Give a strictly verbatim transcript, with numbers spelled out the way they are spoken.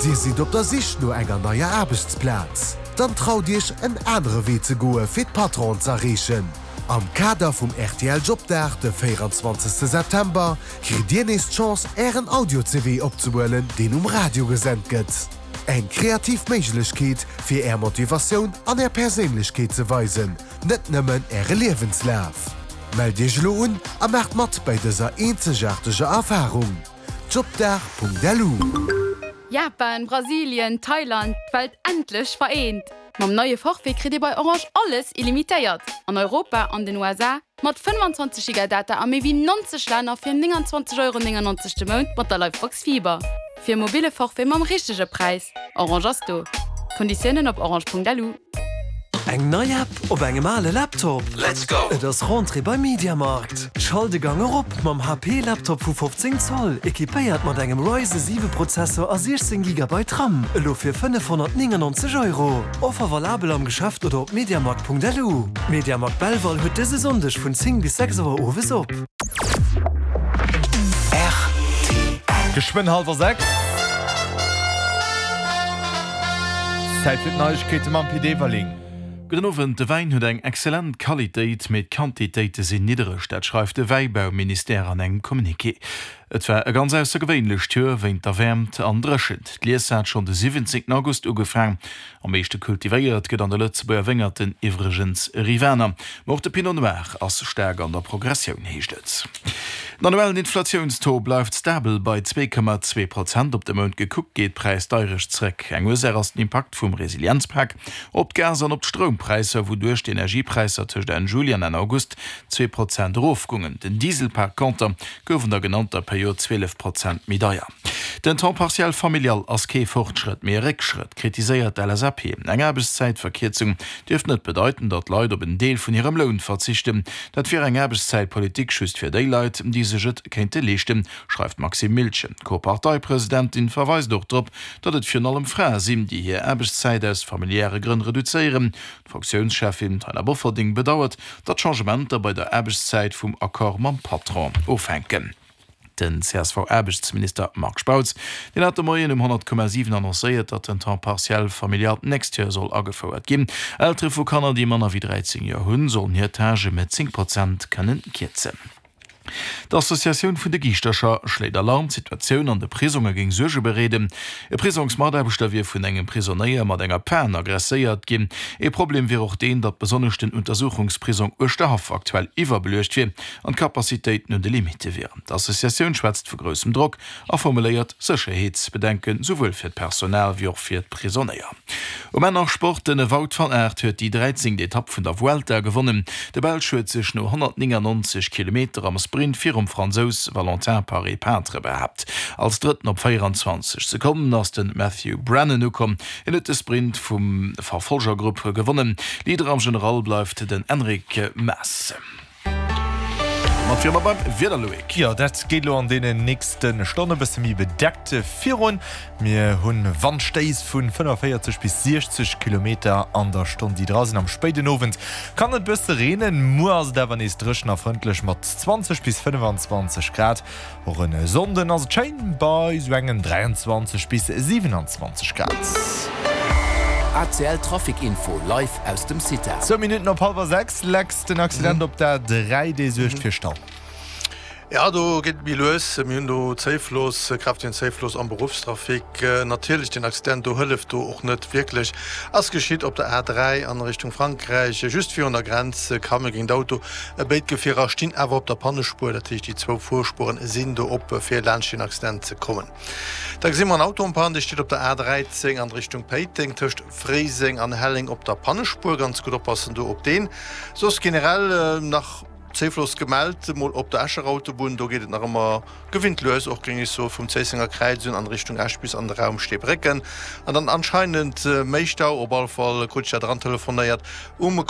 Dir sidd op der Sich no enger neier Aarbechtsplaz? Dann traut Iech en anere Wee ze goe fir d'Patronen ze erreechen. Am Kader vum R T L Jobdag de véieranzwanzegste September kritt Dir nees d'Chance Ären Audio-C V opzehuelen, deen um Radio gesent gëtt. Eng kreativ Méiglechkeet fir Är Motivatioun an Är Perséinlechkeet ze weisen, net nëmmen Äre Liewenslaf. Mellt Iech elo un a maacht mat bei dëser eenzegaarteger Erfarung. Jobdag Punkt L U. Japan, Brasilien, Thailand, d'Welt endlech vereent. Mam neie Forfait kritt Dir bei Orange alles illimitéiert. An Europa an den U S A mat fënnfanzwanzeg Giga Data a méi wéi neunzeg Länner fir neunundzwanzeg Euro neunundneunzeg de Mount mat der Livebox Fiber. Fir mobile Forfait mam richtege Präis. Orange ass do. Konditiounen op orange Punkt L U. Eng nei App op engem ale Laptop. Let's go! Et ass Rentrée bei Mediamarkt. Schalt de Gang erop mam H P Laptop vu fofzéng Zoll, equipéiert mat engem Ryzen siwe Prozessor a siechzéng Gigabyte RAM. Elo fir fënnefhonnertneunundneunzeg Euro. Offer valabel am Geschäft oder op mediamarkt Punkt L U. Mediamarkt Belval huet dëse Sonndeg vun zéng bis sechs Auer owes op. Geschwënn hallwer sechs. Zäit fir d'Neiegkeete mam Pit Everling. Gudden Owend. De Wäin huet eng exzellent Qualitéit, mee d'Quantitéite sinn niddereg, dat schreift de Wäibauministère an engem Communiqué. Et war e ganz aussergewéinlecht Joer wéint der Wäermt an Dréchent. D'Lies hat schonn de siwwenzéngten August ugefaangen. Am meeschte kultivéiert gëtt an de Lëtzebuerger Wéngerten iwwregens Rivaner. Ma och de Pinot Noir ass staark an der Progressioun, heescht et. Den annuellen Inflatiounstaux bleift stabel bei zwee Komma zwee Prozent. Op de Mount gekuckt geet d'Präisdeierecht zréck. Eng Ursaach ass den Impakt vum Resilienzpak op d'Gas an op d'Stroumpräisser, wouduerch d'Energiepräisser tëscht Enn Juli an Enn August zwee Prozent erofgoungen. Den Diesel par konter gouf an der genannter Period zwielef Prozent méi deier. Den Temps partiel familial ass kee Fortschrëtt, mee e Réckschrëtt, kritiséiert d'L S A P. Eng Aarbechtszäitverkierzung dierft net bedeiten, datt Leit op en Deel vun hirem Loun verzichten. Dat wier eng Aarbechtszäitpolitik just fir déi Leit, déi sech et kéinte leeschten, schreift d'Maxime Miltgen. D'Co-Parteipresidentin verweist och drop, datt et virun allem Frae sinn, déi hir Aarbechtszäit aus familiäre Grënn reduzéieren. D'Fraktiounscheffin Taina Bofferding bedauert, datt Changementer bei der Aarbechtszäit vum Accord mam Patron ofhänken. Den C S V-Aarbechtsminister Marc Spautz, deen hat de Moien um honnert Komma siwen annoncéiert, datt den Temps partiel familial d'nächst Joer soll agefouert ginn. Eltere vu Kanner, déi manner wéi dräizéng Joer hunn, sollen hir Tâche mat zéng Prozent kënnen kierzen. D'Associatioun vun de Giischtercher schléit Alarm, D'Situatioun an de Prisonge géing Suerge bereeden. E Prisongsmataarbechter wier vun engem Prisonéier mat enger Pan agresséiert ginn. E Problem wier och deen, datt besonnesch den Untersuchungsprisong Uerschterhaff aktuell iwwerbeluecht wier an d'Kapazitéiten un de Limitte wieren. D'Associatioun schwätzt vu groussem Drock a formuléiert Sécherheetsbedenken, souwuel fir d'Personal wéi och fir d'Prisonéier. Um Enn nach Sport, De Wout van Aert huet déi dräizéngt Etapp vun der Vuelta gewonnen. De Belsch huet sech no honnertneunundneunzeg Kilometer am Sprint virum Fransous Valentin Paret-Peintre behaapt. Als Drëtten op véieranzwanzeg Sekonnen ass de Matthew Brennan ukomm. Hien huet de Sprint vum Verfolgergrupp gewonnen. Leader am General bleift den Enric Mas. Mat fir beim Wieder, Loïc. Jo, dat geet lo an deenen nächste Stonne bësse méi bedeckt virun. Mir hunn Wandstéiss vu fënnefenvéierzeg bis siechzeg Kilometer an der Stonn, déi dra sinn. Am spéiden Owend kann et bësse reenen. Muer ass et awer nees dréchen a frëndlech mat zwanzeg bis fënnfanzwanzeg Grad. Och e Sonnden ass et schéin bei sou engen dräianzwanzeg bis siwenanzwanzeg Grad. A C L Trafic Info live aus dem CITA. Zwou Minutten op hallwer sechs. Lex, den Accident op der dräi, dee suergt fir Stau. Ja, do geet et méi lues. Mir hunn do Zéifloss, kräftegen Zéifloss am Beruffstrafic. Natierlech den Accident do hëlleft do och net wierklech. Ass geschitt op der A dräi an Richtung Frankräich, just virun der Grenz, Camion géint Auto. Béid Gefierer stinn awer op der Pannespuer, dat heescht déi zwou Fuerspueren sinn do op fir laanscht den Accident ze kommen. Da gesi mer en Auto en panne, dee steet op der A dräizéng an Richtung Péiteng tëscht Fréiseng an Helleng op der Pannespuer. Ganz gutt oppassen do op deen. Soss generell nach Zéifloss gemellt mol op der Escher Autobunn, do geet et nach ëmmer gewinnt lues, och géing ech soe vum Zéissenger Kräiz un an Richtung Esch bis an de Raum Steebrécken. An dann anscheinend méi Stau, op alle Fall krut ech dat erantelefonéiert, um